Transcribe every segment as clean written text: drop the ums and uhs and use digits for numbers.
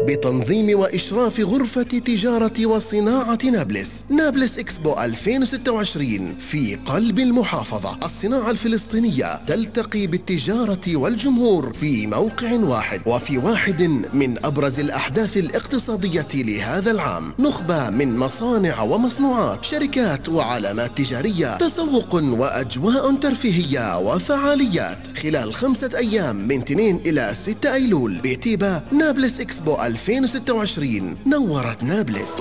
بتنظيم وإشراف غرفة تجارة وصناعة نابلس. نابلس إكسبو 2026 في قلب المحافظة. الصناعة الفلسطينية تلتقي بالتجارة والجمهور في موقع واحد، وفي واحد من أبرز الأحداث الاقتصادية لهذا العام. نخبة من مصانع ومصنوعات، شركات وعلامات تجارية، تسوق وأجواء ترفيهية وفعاليات خلال 5 أيام من 2 إلى 6 أيلول بتيبا. نابلس إكسبو 2026 نورت نابلس.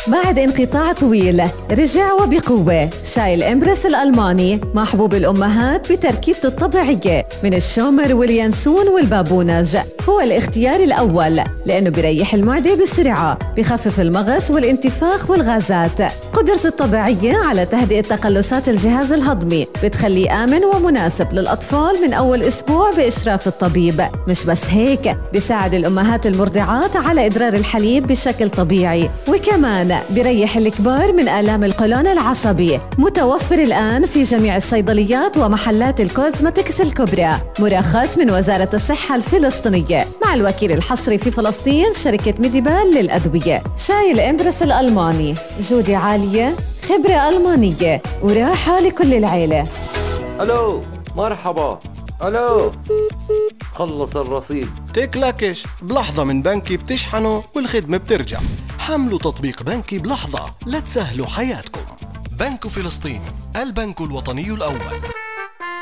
بعد انقطاع طويل رجع وبقوة شاي الإمبرس الألماني، محبوب الأمهات بتركيبته الطبيعية من الشومر واليانسون والبابونج. هو الاختيار الأول لأنه بيريح المعدة بسرعة، بخفف المغص والانتفاخ والغازات. قدرته الطبيعية على تهدئة تقلصات الجهاز الهضمي بتخليه آمن ومناسب للأطفال من أول أسبوع بإشراف الطبيب. مش بس هيك، بيساعد الأمهات المرضعات على إدرار الحليب بشكل طبيعي، وكمان بيريح الكبار من آلام القولون العصبي. متوفر الآن في جميع الصيدليات ومحلات الكوزمتكس الكبرى، مرخص من وزارة الصحة الفلسطينية مع الوكيل الحصري في فلسطين شركة ميديبال للأدوية. شاي الإمبرس الألماني، جودة عالية، خبرة ألمانية، وراحة لكل العيلة. ألو، مرحبا. ألو، خلص الرصيد. تكلكش بلحظة من بنكي بتشحنوا والخدمة بترجع. حملوا تطبيق بنكي بلحظة لتسهلوا حياتكم. بنك فلسطين، البنك الوطني الأول.